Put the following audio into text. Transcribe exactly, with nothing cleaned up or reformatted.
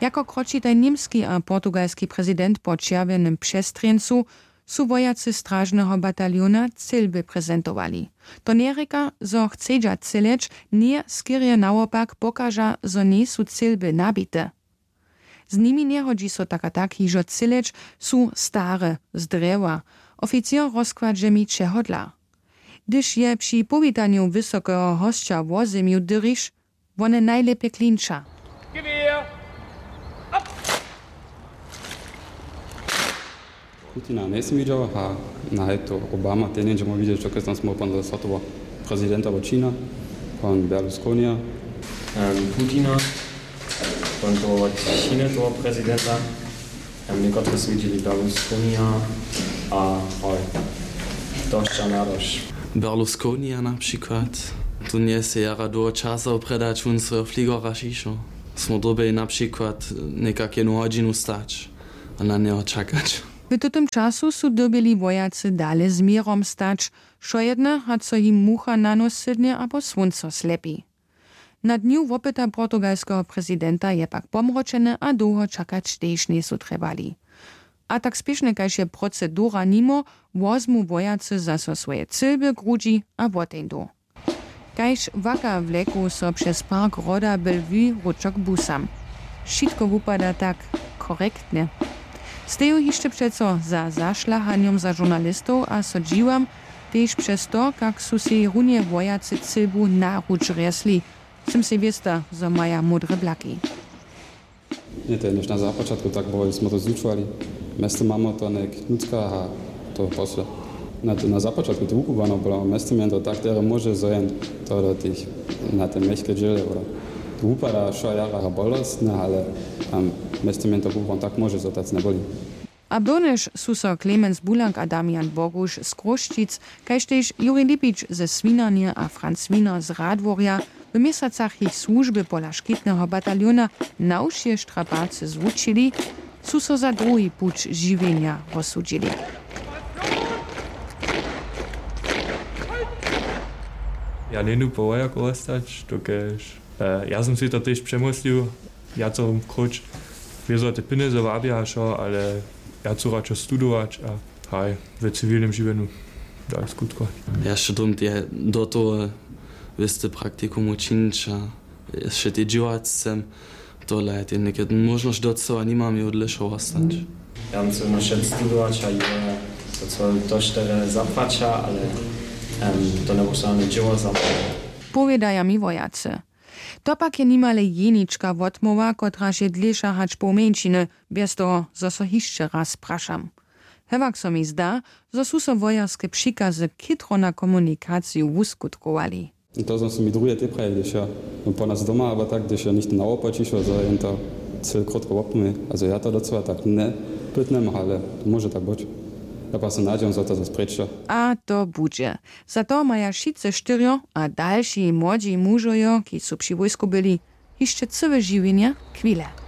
Jako kroćitaj němski a portugalski prezident po čerwjenym přestrjeńcu su wojacy stražneho bataljona cylby prezentowali. To njerěka, zo chcedźa cyleć, ně skerje nawopak pokaža, zo njejsu cylby nabite. Z nimi njehodźi so tak a tak hižo cyleć, su stare, z drjewa. Oficěr rozkładźe mi čehodla. Hdyž je při powitanju wysokeho hosća wozemju dyriš, wone najlěpje klinča. Putina njejsym widźał, a na to Obama ten jen dźe móhł widźeć, dokelž tam smy potom za swatowa prezidenta Čina, pan Berlusconija. Putina, pan to wot Činy, toho prezidenta. Někotre su widźeli Berlusconija a hoj, to sća nadoš. Berlusconija na přikład, tu njese jara dołho časa wopredać wón swojeho fligora šišo. Smo dyrbjeli na přikład někak jednu hodźinu stać a na njeho čakać. W tutym času su dyrbjeli wojacy dale z měrom stać, wšojedne, hač so jim mucha na nos sydnje abo słónco slepi. Na dnju wopyta portugalskeho prezidenta je pak pomročene a dołho čakać tež njejsu trjebali. A tak spěšnje kaž je procedura nimo, wozmu wojacy zaso swoje cylby grudźi a woteńdu. Kaž waka wleku so přez park hroda Bellevue ručo k busam. Wšitko wupada tak korektnje. Steju hišće přeco za zašlahanjom za žurnalistow a so dźiwam, tež přez to, kak su sej runje wojacy cylbu na ruč rjesli. Sym sej wěsta, zo maja módre blaki. Ně, to je něž na započatku tak było, hdyž smy to zlučowali. Mjeztym mamy to něk nutřka a to posle. Na, to, na započatku to wukubłano było, mjeztym jen to tak terje móže, zo jen to do tych, na te mjechke dźěle, oder to wupada wšo jara bolostne, ale um, mjeztym jen to kubłano tak móže, zo tac njeboli. A byrnjež su so Clemens Bulak a Damian Boguš z Chrósćic, kaž tež Juri Lipić ze Swinarnje a Franz Wiener z Radworja w měsacach jich słužby pola škitneho bataljona na wšě štrapacy zwučili, su so za druhi puć žiwjenja rozsudźili. Ja njedu po wojaku wostać, dokelž E, ja sym sej to tež přemyslił, ja co króć wězo te pjenjezy wabja a wšo, ale ja chcu radšo studować a haj, w ciwilnym žiwjenju dale skutko. Ja šedom je do toho wěste praktikum učińć a jeszcze te dźěłać chcem, tola je te něke móžnosć docyła nimam je dlěšo wostać. Ja bym chcel na wšetc studować a je to co to štere zapłaća, ale em, to njebusa dźěło zapłaća. Powědaja mi wojacy. To pak je nimale jenička wotmołwa, kotraž je dlěša hač poł mjeńšiny, bjez toho zo so hišće raz prašam. Hewak so mi zda, zo su so wojerske přikazy chětro na komunikaciju wuskutkowali. To są so mi druhe te praje, hdyž ja po nas doma abo tak, hdyž ja nichtó na wopa přišło, zo jen to cyle krótko wopomnje. A zo ja to docyła tak njepytnjam, ale to móže tak być. Ja pa so nadźijam, zo to zas prěčo. A to budźe. Za to maja wšitcy štyrjo a dalši młodźi mužojo, kiž su při wójsku byli, hišće cyłe žiwjenje chwile.